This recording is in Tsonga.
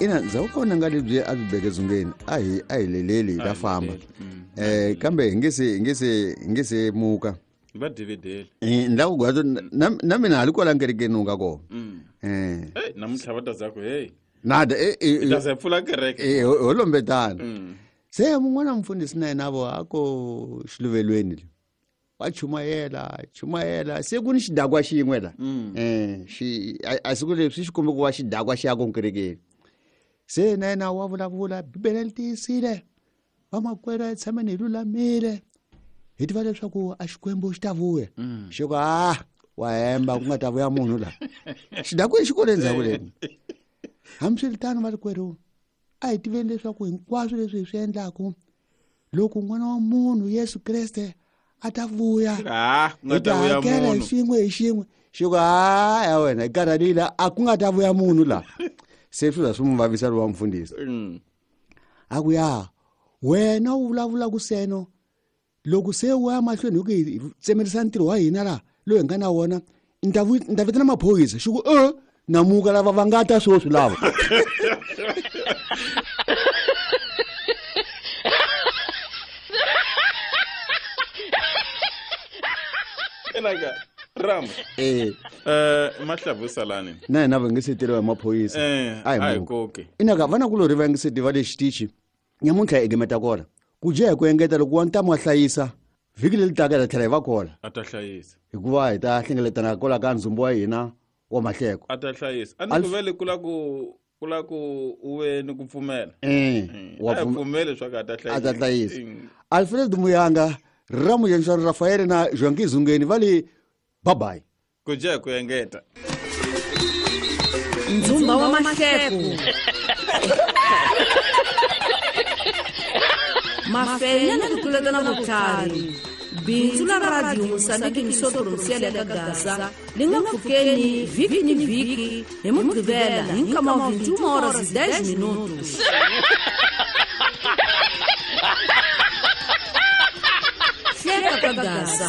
Ina ndzhaku ka vunanga lebyi a byi beke dzungeni a hi leleli hi ta famba. Kambe hi nge se hi nge se hi nge se muka. Va dividele. Ni lava ku gwato na mina hali kwala kerekeni u nga kona. Hey, namuntlha va ta za ku hey. Nada hi ta za hi pfula kereke. Ho lombetana. Se mun'wana mfundhisi na yena vo a ko xiluvelweni le. Wa chumayela se ku ni xidakwa xin'we la. Xi a siku leswi xi kombe ku va xidakwa xi ya ko kerekeni. Se na yena wa vulavula Bibele li tiyisile. Vamakwerhu a hi tshameni hi lulamile. Hi tiva leswaku a Xikwembu xi ta vuya. Xi ku a wa hemba ku nga ta vuya munhu la. Xidakwa xi kole ndzhaku leni. Hambiswiritano valikwerhu a hi tiveni leswaku hinkwaswo leswi hi swi endlaku loko n'wana wa munhu Yesu Kreste a ta vuya hi ta hakela hi xin'we hi xin'we. Xi ku a ya wena hi karhalile a ku nga ta vuya munhu la. Se swi za swi n'wi vavisa lowa mfundhisi. A ku ya wena u vulavula ku seno loko se u ya mahlweni hi ku hi tsemerisa ntirho wa hina la loyi hi nga na wona ni ta vitana maphorisa. Xi ku namuka lava va nga ta sweswi lava. Enaka Ram. Mahlavu salani. Na hina va nge se teriwa hi maphorisa. A hi koke. Inaka vana kulorhi va nge se tiva le xitichi. Nyamuntlha hi gimeta kona. Ku dya hi ku engeta loko wa ntamu wa hlayisa vhiki leri taka hi ta tlhela hi va kona. A ta hlayisa. Hikuva hi ta hlengeletana kwala ka ndzumbu wa hina wa mahleko. A ta hlayisa. A ni ku vele kula ku u ve ni ku pfumela. Wa A pfumele leswaku a ta hlayisa. A ta hlayisa. Alfred Muyanga, Ramuyenshwana Rafael na Joaquim Zungeni va le bye bye. Ku dya hi ku engeta. Ndzumba wa mahleko. Mafenya na ku tluletana vutlhari. Bindzu la Radio Mozambique ni Sodro Musiele ka Gaza li nga pfukeni vhiki ni vhiki hi Mugqivela hi nkama wa 21 horas e 10 minutos. Hleka ka Gaza.